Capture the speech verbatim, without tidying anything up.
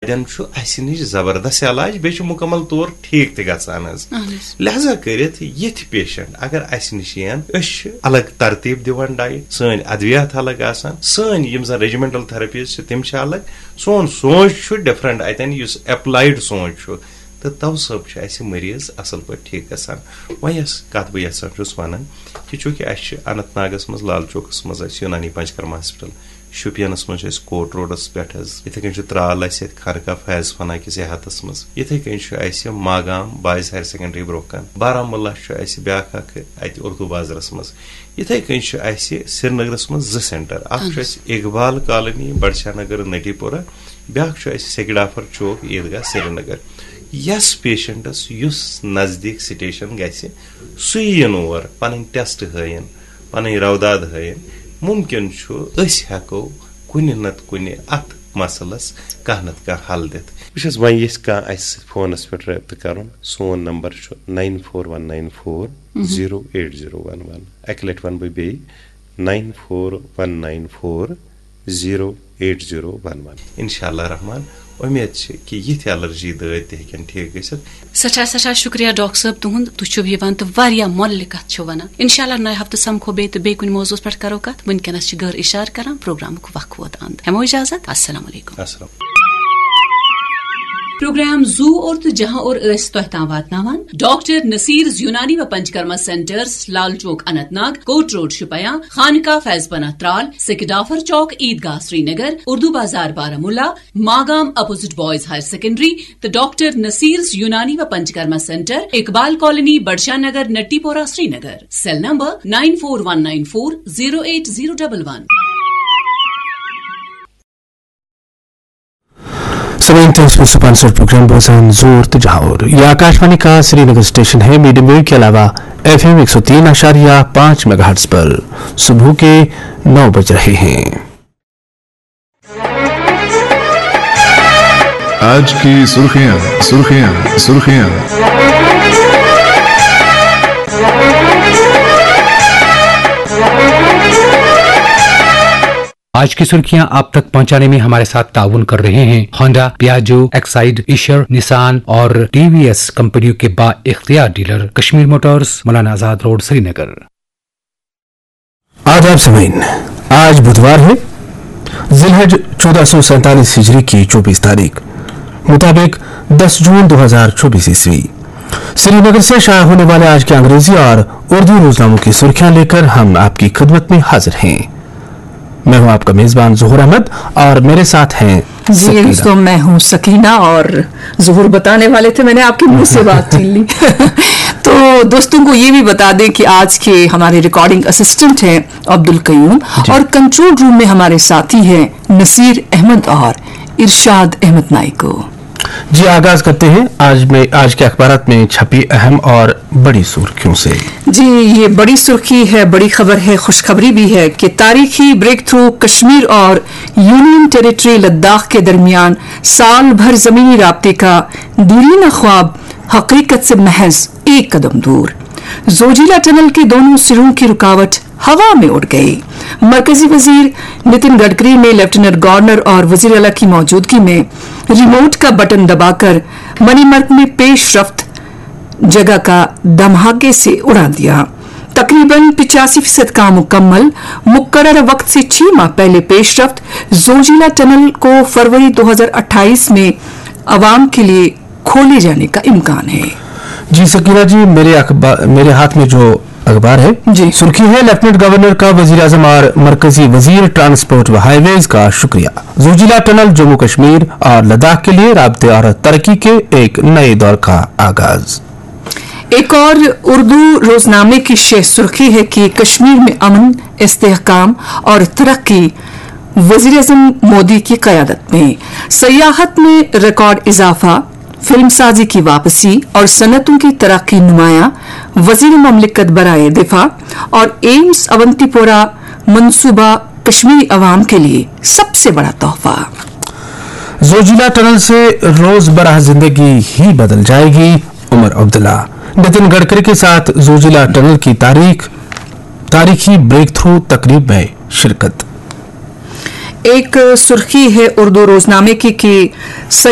تتٮ۪ن چھُ اسہِ نِش زبردست علاج، بیٚیہِ چھُ مُکمل طور ٹھیٖک تہِ گژھان حظ۔ اہن حظ۔ لہذا کٔرِتھ یِتھۍ پیشنٹ اگر اسہِ نِش یِن، أسۍ چھِ الگ ترتیٖب دِوان ڈایٹ، سٲنۍ ادویات الگ آسان، سٲنۍ یِم زن ریجیمنٹل تھراپیز چھِ تِم چھِ الگ، سون سونچ چھُ ڈفرنٹ اتٮ۪ن، یُس اپلایڈ سونچ چھُ، تہٕ تو سب چھُ اسہِ مریض اصل پٲٹھۍ ٹھیٖک گژھان۔ وۄنۍ یۄس کتھ بہٕ یژھان چھُس ونٕنۍ کہِ چوٗنٛکہِ اسہِ چھِ اننت ناگس منٛز لال چوکس منٛز اسہِ یونانی پنچکرما ہاسپٹل، شُپینس منٛز چھُ اسہِ کوٹ روڈس پٮ۪ٹھ حظ، یِتھے کٔنۍ چھُ ترال اسہِ ییٚتہِ خانقاہ فیض فنا کِس احاطس منٛز، یِتھے کٔنۍ چھُ اسہِ ماگام بایز ہایر سیکنڈری برونٛہہ کن، بارہمولہ چھُ اسہِ بیاکھ اکھ اتہِ اردو بازرس منٛز، یِتھے کٔنۍ چھُ اسہِ سرینگرس منٛز زٕ سینٹر، اکھ چھُ اسہِ اقبال کالونی بڑشاہ نگر نٹی پورہ، بیاکھ چھُ اسہِ سیکڈافر چوک عیدگاہ سرینگر۔ یس پیشنٹس یُس نزدیٖک سٹیشن گژھِ، سُے یِن اور، پنٕنۍ ٹیسٹ ہٲیِن، پنٕنۍ روداد ہٲیِن، مُمکِن چھُ أسۍ ہٮ۪کو کُنہِ نتہٕ کُنہِ اتھ مسلس کانٛہہ نتہٕ کانٛہہ حل دِتھ۔ بہٕ چھُس وۄنۍ یژھِ کانٛہہ اسہِ سۭتۍ فونس پٮ۪ٹھ رٲبطہٕ کرُن، سون نمبر چھُ nine four one nine four zero eight zero one one۔ اکہِ لٹہِ ونہٕ بہٕ بیٚیہِ، nine four one nine four zero eight zero one one۔ انشاء اللہ رحمان، امید چھِ کہِ یِتھۍ الرجی دٲدۍ تہِ ہیٚکن ٹھیک گٔژھِتھ۔ سٮ۪ٹھاہ سٮ۪ٹھاہ شُکریہ ڈاکٹر صٲب تُہُنٛد، تُہۍ چھِو یِوان تہٕ واریاہ مۄلہِ کتھ چھِو ونان۔ انشاء اللہ نوِ ہفتہٕ سمکھو بیٚیہِ تہٕ بیٚیہِ کُنہِ موضوعس پٮ۪ٹھ کرو کتھ۔ وُنکیٚنس چھِ گٔر اشارٕ کران پروگرامُک وقت ووت اند۔ ہٮ۪مو اجازت، السلام علیکم۔ السلام۔ پروگرام زو اور تو جہاں اور ٲسۍ تۄہہِ تام واتناوان ڈاکٹر نصیرز یونانی و پنچکرما سینٹرز، لال چوک اننت ناگ، کوٹ روڈ شُپیاں، خانقاہ فیض پناہ Tral, Sekidafar chowk Eidgah Srinagar, Urdu Bazar Baramulla, Magam opposite boys higher secondary تہٕ ڈاکٹر نصیرز یونانی و Panchakarma centre, Iqbal colony, Badshah Nagar, Natipora, Srinagar. Cell number nine four one nine four zero eight zero double one۔ سامعین، تھے اس میں سپانسر پروگرام بوزان زور تجاور۔ یہ آکاشوانی کا سری نگر اسٹیشن ہے، میڈیم ویو کے علاوہ ایف ایم ایک سو تین اشاریہ پانچ میگا ہرٹز پر صبح کے نو بج رہے ہیں۔ آج کی سرخیاں، سرخیاں، سرخیاں۔ آج کی سرخیاں آپ تک پہنچانے میں ہمارے ساتھ تعاون کر رہے ہیں ہونڈا، پیاجو، ایکسائیڈ، ایشر، نسان اور ٹی وی ایس کمپنیوں کے با اختیار dealer Kashmir Motors, Maulana Azad road, سری نگر۔ آداب سامعین، آج بدھوار ہے، ذی الحج چودہ سو سینتالیس ہجری کی چوبیس تاریخ، مطابق دس جون دو ہزار چوبیس عیسوی۔ سری نگر سے شائع ہونے والے آج کے انگریزی اور اردو روزناموں کی سرخیاں لیکر ہم آپ کی خدمت میں حاضر ہیں۔ میں ہوں آپ کا میزبان ظہور احمد اور میرے ساتھ ہیں جی سکینہ۔ دوستوں، میں ہوں سکینہ اور ظہور بتانے والے تھے، میں نے آپ کے منہ سے بات چھین لی۔ تو دوستوں کو یہ بھی بتا دیں کہ آج کے ہمارے ریکارڈنگ اسسٹنٹ ہیں عبد القیوم جی۔ اور کنٹرول روم میں ہمارے ساتھی ہیں نصیر احمد اور ارشاد احمد نائیکو۔ جی، آغاز کرتے ہیں آج میں، آج کے اخبارات میں چھپی اہم اور بڑی سرخیوں سے۔ جی، یہ بڑی سرخی ہے، بڑی خبر ہے، خوشخبری بھی ہے کہ تاریخی بریک تھرو کشمیر اور یونین ٹیریٹری لداخ کے درمیان سال بھر زمینی رابطے کا دیرینہ خواب حقیقت سے محض ایک قدم دور۔ زوجیلا ٹنل کے دونوں سروں کی رکاوٹ ہوا میں اڑ گئی۔ مرکزی وزیر نتن گڈکری نے لیفٹیننٹ گورنر اور وزیر اعلیٰ کی موجودگی میں ریموٹ کا بٹن دبا کر منی مرک میں پیش رفت جگہ کا دھماکے سے اڑا دیا۔ تقریباً پچاسی فیصد کام مکمل، مقررہ وقت سے چھ ماہ پہلے پیش رفت۔ زوجیلا ٹنل کو فروری دو ہزار اٹھائیس میں عوام کے لیے کھولے جانے کا امکان ہے۔ جی سکینہ جی، میرے اخبار، میرے ہاتھ میں جو اخبار ہے، جی۔ سرخی ہے، لیفٹیننٹ گورنر کا وزیر اعظم اور مرکزی وزیر ٹرانسپورٹ و ہائی ویز کا شکریہ۔ زوجیلا ٹنل جموں کشمیر اور لداخ کے لیے رابطے اور ترقی کے ایک نئے دور کا آغاز۔ ایک اور اردو روزنامے کی شہ سرخی ہے کہ کشمیر میں امن، استحکام اور ترقی وزیر اعظم مودی کی قیادت میں۔ سیاحت میں ریکارڈ اضافہ، فلم سازی کی واپسی اور صنعتوں کی ترقی نمایاں، وزیر مملکت برائے دفاع اور ایمس اونتی پورہ منصوبہ کشمیری عوام کے لیے سب سے بڑا تحفہ۔ زوجیلا ٹنل سے روز برہ زندگی ہی بدل جائے گی، عمر عبداللہ۔ نتن گڈکری کے ساتھ زوجیلا ٹنل کی تاریخ، تاریخی بریک تھرو تقریب میں شرکت۔ ایک سرخی ہے اردو روزنامے کی کہ سید